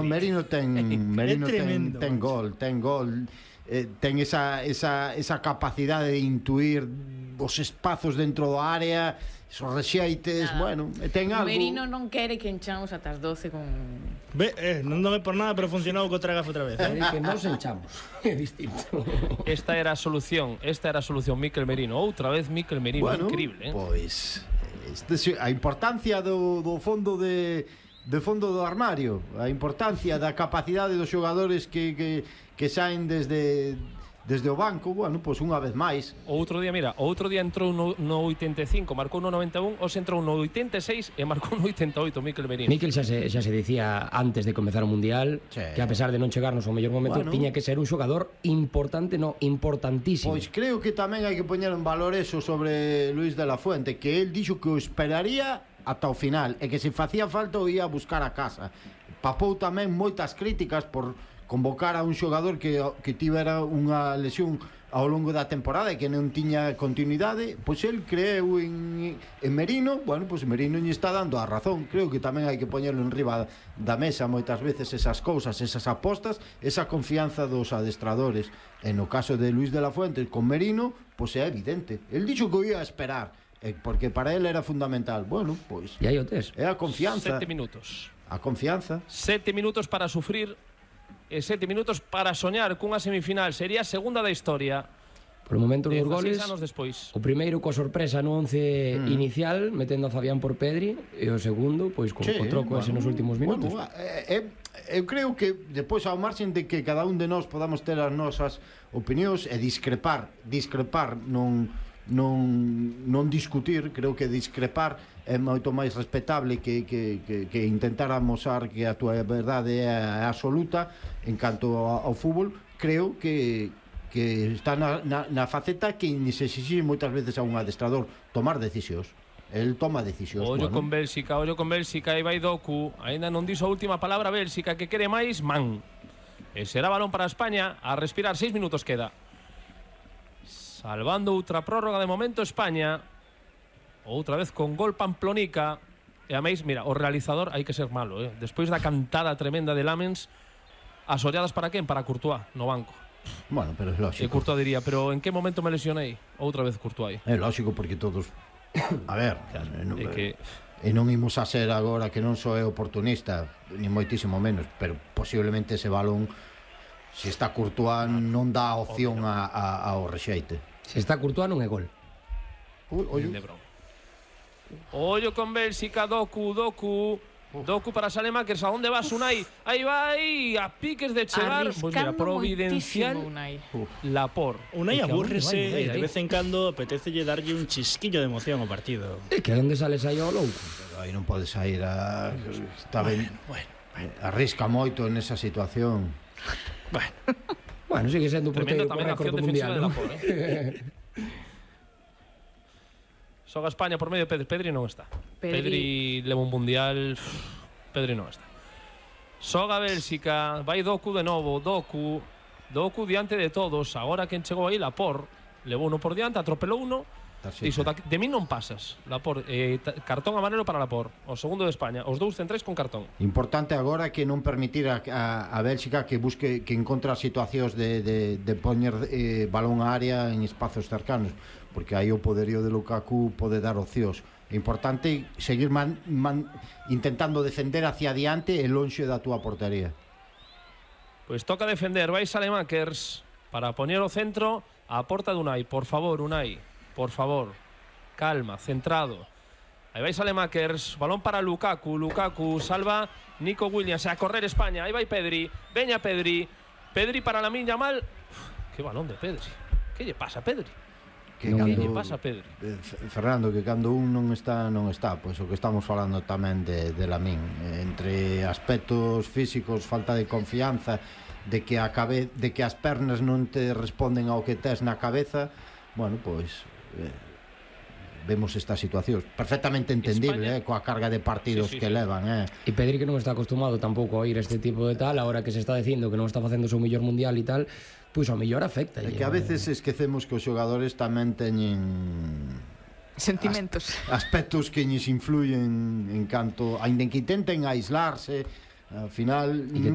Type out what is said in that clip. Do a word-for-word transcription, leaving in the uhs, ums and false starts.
Merino ten Merino ten, tremendo, ten macho. gol, ten gol, eh, ten esa, esa, esa capacidade de intuir os espazos dentro do área, esos rexeites, Nada. bueno, e ten algo. Merino non quere que enchamos ata as doce con... Ve, eh, non dame por nada, pero funcionou co Tragafe outra vez, eh? É que nos enchamos. É distinto. Esta era a solución, esta era a solución Mikel Merino. Outra vez Mikel Merino, Bueno, increíble, eh? pois este, a importancia do, do fondo de de fondo do armario, a importancia da capacidade dos xogadores que, que, que saen desde desde o banco, bueno, pois unha vez máis. O outro día, mira, o outro día entrou no, no oitenta e cinco, marcou no noventa e un, os entrou no oitenta e seis e marcou no oitenta e oito Mikel Merino. Mikel xa se, xa se dicía antes de comezar o Mundial Sí. que a pesar de non chegarnos ao mellor momento, Bueno. tiña que ser un xogador importante, no, importantísimo. Pois creo que tamén hai que poñer en valor eso sobre Luis de la Fuente, que el dixo que o esperaría ata o final e que se facía falta o ia a buscar a casa. Papou tamén moitas críticas por convocar a un xogador que, que tivera unha lesión ao longo da temporada e que non tiña continuidade. Pois el creeu en, en Merino. Bueno, pois Merino lle está dando a razón. Creo que tamén hai que poñerlo en riba da mesa moitas veces esas cousas, esas apostas, esa confianza dos adestradores. En o caso de Luis de la Fuente con Merino, pois é evidente. El dixo que o ia a esperar, porque para él era fundamental. Bueno, pois E aí o tes. é a confianza. Sete minutos. A confianza. Sete minutos para sufrir e sete minutos para soñar cunha semifinal. Sería a segunda da historia. Por o momento dos goles, dezasseis anos despois. o primeiro coa sorpresa no once mm. inicial, metendo a Fabián por Pedri, e o segundo, pois, co, Sí, co troco ese nos últimos minutos. Bueno, eh, eh, eu creo que depois ao marxen de que cada un de nós podamos ter as nosas opinións e discrepar, discrepar non non non discutir, creo que discrepar é moito máis respetable que, que, que, que intentar amosar que a túa verdade é absoluta en canto ao, ao fútbol. Creo que que está na, na, na faceta que se exixe moitas veces a un adestrador tomar decisións. El toma decisións. Ollo bueno. con Bélxica, ollo con Bélxica, aí vai Doku. Ainda non dixo a última palabra Bélxica, que quere máis, man. E será balón para España, a respirar, seis minutos queda. Salvando outra prórroga de momento España. Outra vez con gol Pamplonica. E a máis, mira, o realizador hai que ser malo, eh? Despois da cantada tremenda de Lamens, as olladas para quen? Para Courtois, no banco. Bueno, pero é E lógico. Courtois diría, pero en que momento me lesionei? Outra vez Courtois. É lógico porque todos a ver, Claro, eh, non, é que e non imos a ser agora que non só é oportunista, ni moitísimo menos, pero posiblemente ese balón, se está Courtois, non dá opción a, a, ao rexeite. Se está Courtois non é gol. Ui, oi, de broma. Ollo con Bélxica, Doku, Doku. Doku para Salemakers, a onde vas, Unai? Aí vai, a piques de chegar. Pois mira, Arriscando providencial moitísimo, Unai. Lapor. Unai É que a onde abúrrese vai, e vai, de vai. vez en cando apetecelle darlle un chisquillo de emoción ao partido. É que onde sales aí ao louco? pero aí non pode sair a... Está ben, Bueno, arrisca moito nesa situación. bueno. Bueno, sigue sendo o Tremenda porteiro con tamén a récord acción do defensiva mundial, de ¿no? Lapor, eh? Xoga España por medio de Pedri. Pedri non está. Pedri- Pedri leva un mundial. Pedri non está. Xoga Bélxica, vai Doku de novo, Doku. Doku diante de todos. Agora quen chegou aí, Lapor. Levou uno por diante, atropelou uno. Dixo, de mí non pasas, Lapor. Eh, cartón amarelo para Lapor. O segundo de España. Os dous centrais con cartón. Importante agora que non permitir a, a, a Bélxica que busque, que encontra situacións de, de, de poñer eh, balón á área en espazos cercanos, porque aí o poderío de Lukaku pode dar opcións. É importante seguir man, man, intentando defender hacia adiante e lonxe da túa portería. Pois toca defender, vai Salemakers para poñer o centro á porta de Unai. Por favor, Unai. Por favor, calma, centrado. Aí vai Salemakers, balón para Lukaku. Lukaku salva Nico Williams. A correr España, aí vai Pedri. Veña Pedri. Pedri para Lamine Yamal. Uf, que balón de Pedri. Que lle pasa a Pedri? Que Non, Que cando, lle pasa a Pedri? eh, Fernando, que cando un non está, non está, pois o que estamos falando tamén de, de Lamín, eh, entre aspectos físicos, falta de confianza, de que a cabe, de que as pernas non te responden ao que tes na cabeza, bueno, pois eh, vemos esta situación perfectamente entendible, España... eh, coa carga de partidos sí, sí, que sí. levan, eh. E Pedri que non está acostumado tampouco a ir este tipo de tal, agora que se está dicindo que non está facendo o seu mellor mundial e tal, pois ao mellor afecta. É que a veces esquecemos que os xogadores tamén teñen Sentimentos. aspectos que lles influyen en canto, aínda que intenten aislarse, Al final